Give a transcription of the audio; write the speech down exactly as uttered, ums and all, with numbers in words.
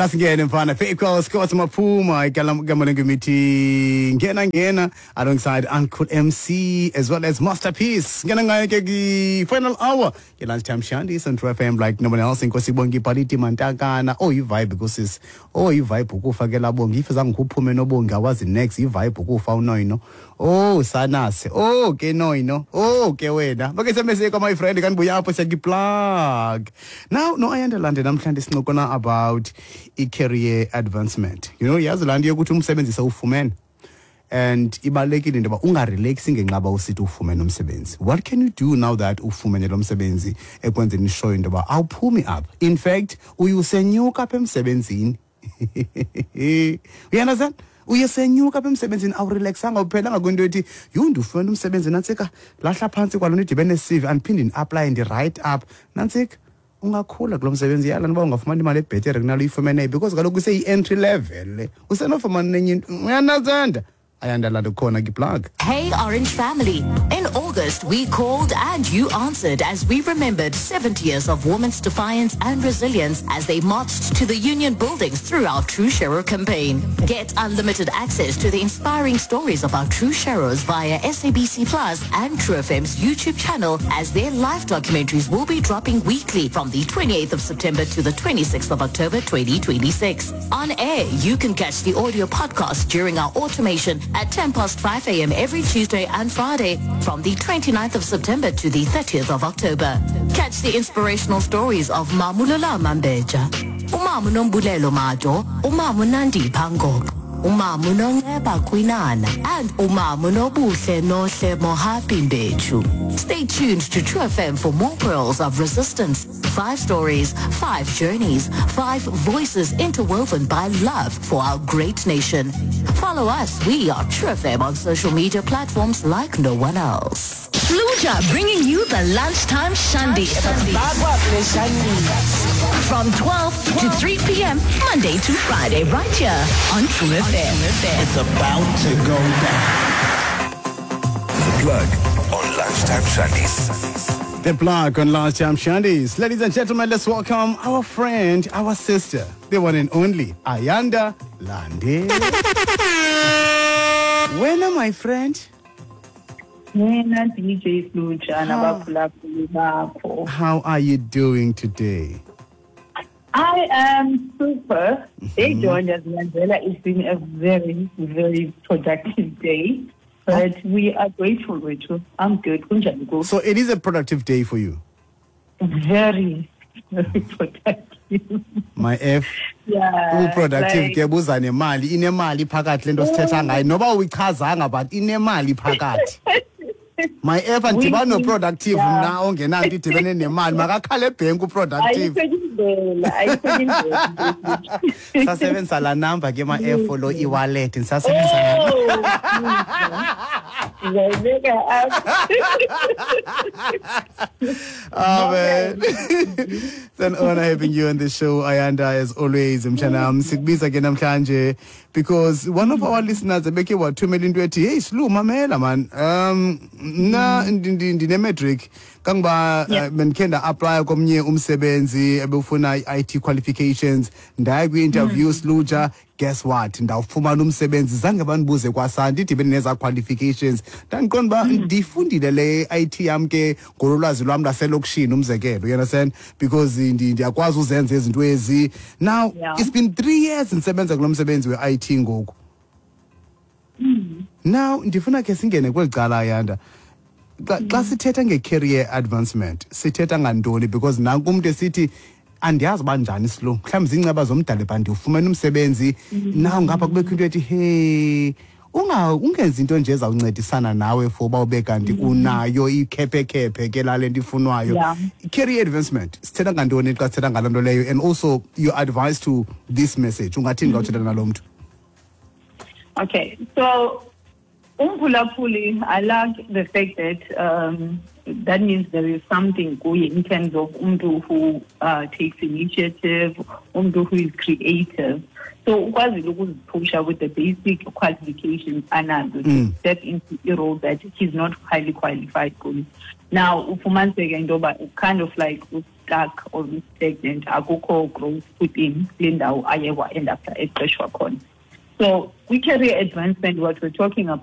Nasingene mfana Fake Scott Maphuma igama lengimithi ngena ngena alongside Uncle M C as well as Masterpiece ngena ngayo ke ki final hour ke Lunchtime Shandies on True F M like no one else. Inkosi Bongi Paliti Mantakana. Oh, i vibe kusisi. Oh, i vibe ukufa ke labongi. If zange uphume nobongi awazi next i vibe ukufa unoyino. Oh, sanase. Oh, ke noyino. Oh, ke wena. Bake semese kwa my friend kanbuya apho siyaki plug. Now no Ayanda Lande namhlanje sincokola about i-career advancement. You know, yazi laa nto yokuthi umsebenzi sewufumene and ibalulekile into yoba ungarelaxi ngenxa ba usithi ufumene umsebenzi. What can you do now that ufumene lo msebenzi ekwenzeni ishoyo into yoba awuphumi apha? In fact, uye usenyuka apha emsebenzini. You understand? Uye senyuka apha emsebenzini, awurelaxanga, uphelanga kwinto ethi yhu ndifumene umsebenzi nantsika lahla phantsi kwalo nto idibene ne-C V andiphinde ndi-aplaye ndi-write up nantsika. Ungakhula kulo msebenzi yala noba ungafumana imali ebhetere kunalo uyifumeneyo because kaloku iseyi-entry level le usenofumana nenye into. Uyanazanda Ayanda laa nto khona kiplug. Hey, Orange family. In August, we called and you answered as we remembered seventy years of women's defiance and resilience as they marched to the union buildings through our True Sharer campaign. Get unlimited access to the inspiring stories of our True Sharers via S A B C Plus and True F M's YouTube channel, as their live documentaries will be dropping weekly from the twenty-eighth of September to the twenty-sixth of October twenty twenty-six. On air, you can catch the audio podcast during our automation at ten past five a m every Tuesday and Friday from the 29th of September to the thirtieth of October. Catch the inspirational stories of Mamulola Mambeja, Umamu Nombulelo Majo, Umamu Nandi Pangok, Umamu Nonceba Kwinana, and Umamu Nobuhle Nohle Mohapi Mbechu. Stay tuned to True F M for more pearls of resistance. Five stories, five journeys, five voices interwoven by love for our great nation. Follow us. We are True F M on social media platforms like no one else. Fluja bringing you the Lunchtime Shandy from twelve to three p m. Monday to Friday, right here on True F M. It's about to go down. The Plug on Lunchtime Shandies. The Plug on Lunchtime Shandies. Ladies and gentlemen, let's welcome our friend, our sister, the one and only Ayanda Lande. Wena, my friend. Mina D J Sluja nabaphulaphuli bakho. How are you doing today? I am super. They joined us, Mandela. It's been a very, very productive day. But we are grateful, Rachel. I'm good. Kunjani kuwe? So it is a productive day for you. Very, very productive. My F. Yeah. Uproductive like- ke buza nemali, inemali phakathi lento sithetha ngayo noba uyichazanga but inemali phakathi. My F, andibani no-productive Yeah. mna ongenanto idibene nemali makakhale ebhenki uproductive. Ayikho indlela, ayikho indlela. Sasebenzisa laa number ke ma-F lo e-wallet ndisasebenzisa laa. Oh, ngiyayibeka apha. Oh, man. It's an honor having you on the show, Ayanda, as always. Mshanam, sikubiza ke namhlanje because one of our listeners ebeke wathumela into ethi, "Hey Slu, mamela man. Um mna ndine-matric kangoba Yeah. uh, bendikhe nda-aplaya komnye umsebenzi ebefuna i-I T qualifications, ndaya kwi-interview Sluja, guess what, ndawufumana umsebenzi zange bandibuze kwasandi idibene nezaa qualifications. Ndandiqonda uba ndiyifundile le I T yam ke ngololwazi lwam laselokishini, umzekelo, you understand, because ndi- ndiyakwazi uzenza izinto ezi. Now Yeah. it's been three years ndisebenza kulo msebenzi we-I T ngoku. Now ndifuna ke singene kweli cala, Ayanda. Xa xa sithetha nge-career advancement sithetha ngantoni? Because nanku umntu esithi andiyazi uba njani silo mhlawumbi ziinceba zomdali ba ndiwufumene umsebenzi now ngapha kubekho into ethi hey unga ungenzi into nje ezawuncedisana nawe for uba ube kanti unayo ikhephekhephe ke lale nto ifunwayo." Yeah. Career advancement sithetha ngantoni xa sithetha ngaloo nto leyo? And also your advice to this message, ungathini xa uthetha nalo mntu? Okay, so umphulaphuli, I like the fact that um, that means there is something kuye in terms of umntu who uh, takes initiative, umntu who is creative. So ukwazile ukuziphusha with the basic qualifications anazo to step into a role that he's not highly qualified kuyo. Now ufumaniseke into yoba kind of like stuck or stagnant, akukho growth within kule ndawo aye wa-end up eqeshwa khona. So kwi-career advancement, what we're talking about